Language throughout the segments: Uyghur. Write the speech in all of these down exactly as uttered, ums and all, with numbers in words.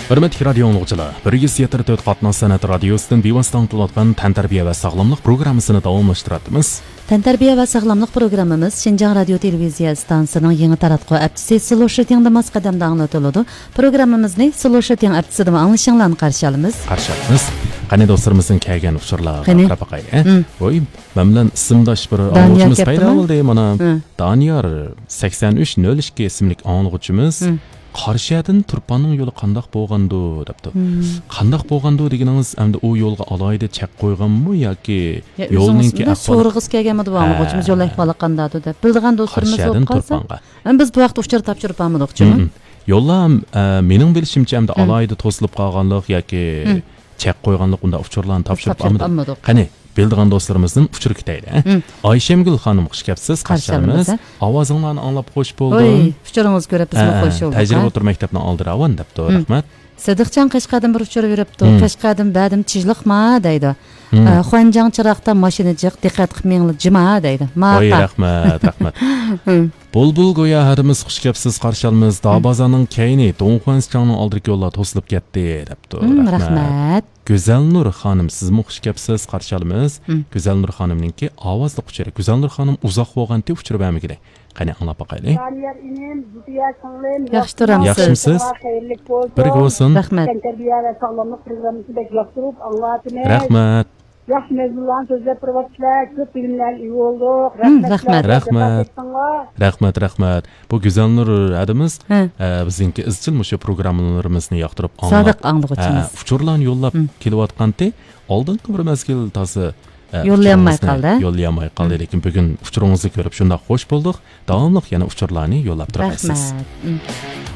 ھۆرمەتلىك رادىيو ئاڭلىغۇچىلار، بىر يۈز يەتتە تۆت قاتناش سەنئەت رادىيوسىدىن بىۋاسىتە ئاڭلىتىۋاتقان تەنتەربىيە ۋە ساغلاملىق پروگراممىسىنى داۋاملاشتۇراتىمىز. تەنتەربىيە ۋە ساغلاملىق پروگراممىمىز شىنجاڭ رادىيو تېلېۋىزىيە ئىستانسىسىنىڭ يېڭى تاراتقۇ ئەپچىسى سلوشىتىڭدا ماس قەدەمدە ئاڭلىتىلىدۇ. پروگراممىمىزنى سلوشىتىڭ ئەپچىسىدىمۇ ئاڭلىشىڭلارنى قارشى ئالىمىز. قارشى ئالىمىز. قېنى دوستلىرىمىزدىن كەلگەن ئۇچۇرلارغا قېنى قاراپ باقايلى، ھە؟ ھىم. ۋوي، مەن بىلەن ئىسىمداش بىر دانىيار ئاڭلىغۇچىمىز پەيدا بولدى، مانا. ھىم. دانىيار سەكسەن ئۈچ نۆل ئىككى ئىسىملىك ئاڭلىغۇچىمىز. ھىم. قارشىيەدىن تۇرپاننىڭ يولى قانداق بولغاندۇ دەپتۇ. ھىم. قانداق بولغاندۇ دېگىنىڭىز ئەمدى ئۇ يولغا ئالاھىدە چەك قويغانمۇ ياكى يا يولنىڭكى ئۆزىڭىز ئەھۋالى؟ سورىغۇسى كەلگەنمىدى بۇ ئاڭلىغۇچىمىز، ھە. يول ئەھۋالى قانداقدۇ دەپ. بىلىدىغان دوستلىرىمىز بولۇپ قارشىيەدىن قالسا، تۇرپانغا. ئەمما بىز بۇ ھەقتە ئۇچۇر تاپشۇرۇپ بارمىدۇق، جۇمۇ. ھىم، ھىم. يوللام، ئە، مېنىڭ بىلىشىمچە ئەمدى ھىم. ئالاھىدە توسۇلۇپ قالغانلىق ياكى ھىم. چەك قويغانلىق ئۇنداق ئۇچۇرلارنى تاپشۇرۇپ تاپشۇرۇپ ئالمىدۇق. ئالمىدۇق. قېنى، بىلىدىغان دوستلىرىمىزدىن ئۇچۇر كۈتەيلى، ھە؟ ھىم. ئايشەمگۈل خانىم، خۇش كەپسىز، قارشى قارشى ئالىمىز. ئالىمىز، ھە؟ ئاۋازىڭلارنى ئاڭلاپ خوش بولدۇم. ھوي، ئۇچۇرىڭىزنى كۆرۈپ بىزمۇ ھە، خوش بولدۇق، تەجرىبە ھە؟ ئوتتۇرا مەكتەپنىڭ ئالدى راۋان دەپتۇ، ھىم. رەھمەت. سىدىقجان قەشقەردىن بىر ئۇچۇر بېرىپتۇ. ھىم. قەشقەردىن بەدىم چىژلىقما دەيدۇ. ھىم. ئە، خۇەنجاڭ چىراغدا ماشىنا جىق، دىققەت قىلىپ مېڭىڭلار جىما دەيدۇ. ما ھوي، ئاپا. رەھمەت، رەھمەت. ھىم. بۇلبۇل گويا ھەدىمىز، خۇش كەپسىز، قارشى ئالىمىز. داۋ ھىم. بازارنىڭ كەينى، دۇڭخۇەنسىچاڭنىڭ ئالدىدىكى يوللار توسۇلۇپ كەتتى دەپتۇ. ھىم، رەھمەت. رەھمەت. گۈزەلنۇر خانىم، سىزمۇ خۇش كەپسىز، قارشى ئالىمىز. ھىم. گۈزەلنۇر خانىمنىڭكى ئاۋازلىق ئۇچۇرى. گۈزەلنۇر خانىم ئۇزاق بولغانتى ئۇچۇر بەرمىگىلى. قېنى، ئاڭلاپ باقايلى. دانىيار ئىنىم، زۇبىيە سىڭلىم، ياخشى تۇرامسىز؟ ياخشىمۇ؟ خەيرلىك بولسۇن. بىرگە بولسۇن. رەھمەت. تەنتەربىيە ۋە ساغلاملىق پروگراممىسىنى بەك ياقتۇرۇپ ئاڭلاۋاتىمىز. رەھمەت. ياخشى مەزمۇنلارنى سۆزلەپ تۇرۇۋاتىسىلەر. كۆپ بىلىملەرگە ئىگە بولدۇق. ھىم، رەھمەتلەر. رەھمەت. رەھمەت. رەھمەت، رەھمەت. بۇ گۈزەلنۇر ھەدىمىز، ھە. ئە، بىزنىڭكى ئىزچىل مۇشۇ پروگراممىلىرىمىزنى ياقتۇرۇپ ئاڭلاپ، سادىق ئاڭلىغۇچىمىز. ئە، ئۇچۇرلارنى يوللاپ ھىم. كېلىۋاتقانتى. ئالدىنقى بىر مەزگىل تازا، ئە، يوللىيالماي ئۇچۇرىڭىزنى قالدى. يوللىيالماي قالدى. ھىم. لېكىن بۈگۈن ئۇچۇرىڭىزنى كۆرۈپ شۇنداق خوش بولدۇق. داۋاملىق يەنە ئۇچۇرلارنى يوللاپ تۇرالايسىز. رەھمەت. ھىم.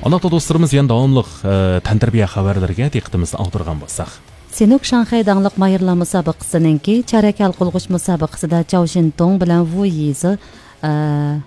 ئانداقتا دوستلىرىمىز يەنە داۋاملىق، ئە، تەنتەربىيە خەۋەرلىرىگە دىققىتىمىزنى ئاغدۇرغان بولساق. سىنوك شاڭخەي داڭلىق ماھىرلار مۇسابىقىسىنىڭكى چارەك ھەل قىلغۇچ مۇسابىقىسىدا چاۋ شىنتۇڭ بىلەن ۋۇ يىزى، ئە،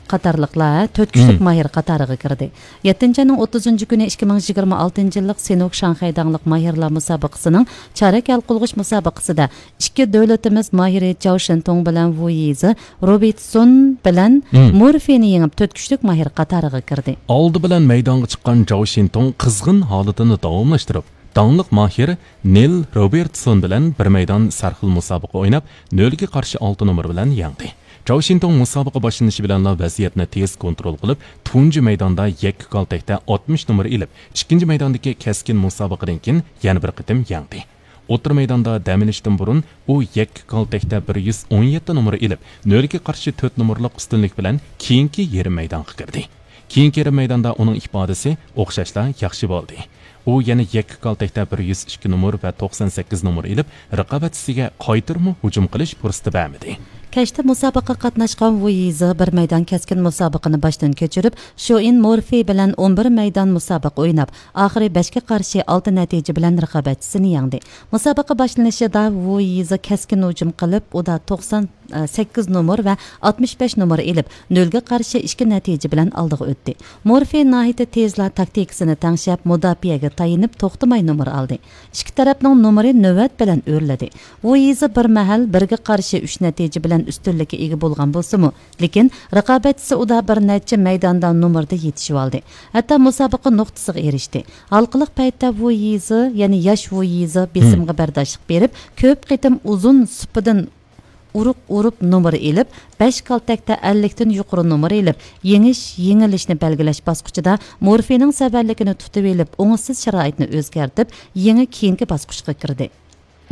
قاتارلىقلار تۆت كۈچلۈك ھىم. ماھىر قاتارىغا كىردى. يەتتىنچى ئاينىڭ ئوتتۇزىنچى كۈنى ئىككى مىڭ يىگىرمە ئالتىنچى يىللىق سىنوك شاڭخەي داڭلىق ماھىرلار مۇسابىقىسىنىڭ چارەك ھەل قىلغۇچ مۇسابىقىسىدە ئىككى دۆلىتىمىز ماھىرى چاۋ شىنتۇڭ بىلەن ۋۇ يىزى روبېرتسون بىلەن ھىم. مورفېينى يېڭىپ، تۆت كۈچلۈك ماھىر قاتارىغا كىردى. ئالدى بىلەن مەيدانغا چىققان چاۋ شىنتۇڭ قىزغىن ھالىتىنى داۋاملاشتۇرۇپ، داڭلىق ماھىر نىل روبېرتسون بىلەن بىر مەيدان سەرخىل مۇسابىقە ئويناپ، نۆلگە قارشى ئالتە نومۇر بىلەن يەڭدى. چاۋ شىنتۇڭ مۇسابىقە باشلىنىشى بىلەنلا ۋەزىيەتنى تېز كونترول قىلىپ، تۇنجى مەيداندا يەككە كالتەكتە ئاتمىش نومۇر ئېلىپ، ئىككىنچى مەيداندىكى كەسكىن مۇسابىقىدىن كېيىن يەنە بىر قېتىم يەڭدى. ئوتتۇرا مەيداندا دەم ئېلىشتىن بۇرۇن ئۇ يەككە كالتەكتە بىر يۈز ئون يەتتە نومۇر ئېلىپ، نۆلگە قارشى تۆت نومۇرلۇق ئۈستۈنلۈك بىلەن كېيىنكى يېرىم مەيدانغا كىردى. كېيىنكى يېرىم مەيداندا ئۇنىڭ ئىپادىسى ئوخشاشلا ياخشى بولدى. ئۇ يەنە يەككە كالتەكتە بىر يۈز ئىككى نومۇر ۋە توقسان سەككىز نومۇر ئېلىپ، رىقابەتچىسىگە قايتۇرما ھۇجۇم قىلىش پۇرسىتى بەرمىدى. كەچتە مۇسابىقىگە قاتناشقان ۋۇ يىزى بىر مەيدان كەسكىن مۇسابىقىنى باشتىن كەچۈرۈپ، شوئىن مورفېي بىلەن ئون بىر مەيدان مۇسابىقە ئويناپ، ئاخىرى بەشكە قارشى ئالتە نەتىجە بىلەن رىقابەتچىسىنى يەڭدى. مۇسابىقە باشلىنىشىدا ۋۇ يىزى كەسكىن ھۇجۇم قىلىپ، ئۇدا توقسان سەككىز نومۇر ۋە ئاتمىش بەش نومۇر ئېلىپ، نۆلگە قارشى ئىككى نەتىجە بىلەن ئالدىغا ئۆتتى. مورفېي ناھايىتى تېزلا تاكتىكىسىنى تەڭشەپ، مۇداپىئەگە تايىنىپ، توختىماي نومۇر ئالدى. ئىككى تەرەپنىڭ نومۇرى نۆۋەت بىلەن ئۆرلىدى. ۋۇ يىزى بىر مەھەل بىرگە قارشى ئۈچ نەتىجە بىلەن ئۈستۈنلۈككە ئىگە بولغان بولسىمۇ، لېكىن رىقابەتچىسى ئۇدا بىر نەچچە مەيداندا نومۇردا يېتىشىۋالدى. ھەتتا مۇسابىقە نۇقتىسىغا ئېرىشتى. ھالقىلىق پەيتتە ۋۇ يىزى، يەنى ياش ۋۇ يىزى بېسىمغا بەرداشلىق بېرىپ، كۆپ قېتىم ئۇزۇن سۇپىدىن ئۇرۇق ئۇرۇپ نومۇر ئېلىپ، بەش كالتەكتە ئەللىكتىن يۇقىرى نومۇر ئېلىپ، يېڭىش، يېڭىلىشنى بەلگىلەش باسقۇچىدا مورفېينىڭ سەۋەنلىكىنى تۇتۇۋېلىپ، ئوڭۇشسىز شارائىتنى ئۆزگەرتىپ، يېڭى كېيىنكى باسقۇچقا كىردى.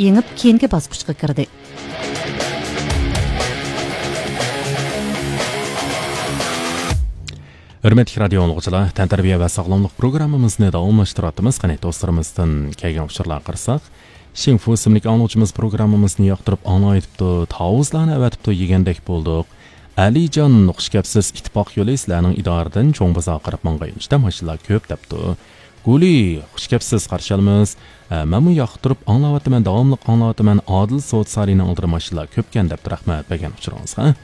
يېڭىپ كېيىنكى باسقۇچقا كىردى. ھۆرمەتلىك رادىيو ئاڭلىغۇچىلار، تەنتەربىيە ۋە ساغلاملىق پروگراممىمىزنى داۋاملاشتۇرۇۋاتىمىز. قېنى، دوستلىرىمىزدىن كەلگەن ئۇچۇرلارغا قارىساق، شىڭفۇ ئىسىملىك ئاڭلىغۇچىمىز پروگراممىمىزنى ياقتۇرۇپ ئاڭلاۋېتىپتۇ، تاۋۇزلارنى ئەۋەتىپتۇ، يېگەندەك بولدۇق. ئەلىجان، خۇش كەپسىز، ئىتتىپاق يولى سىلەرنىڭ ئىدارىدىن چوڭ بازارغا قاراپ ماڭغان يۆنىلىشتە ماشىنىلار كۆپ دەپتۇ. گۇلى، خۇش كەپسىز، قارشى ئالىمىز. ئە، مەنمۇ ياقتۇرۇپ ئاڭلاۋاتىمەن، داۋاملىق ئاڭلاۋاتىمەن، ئادىل سودا سارىيىنىڭ ئالدىدا ماشىنىلار كۆپكەن دەپتۇ، رەھمەت بەرگەن ئۇچۇرىڭىزغا.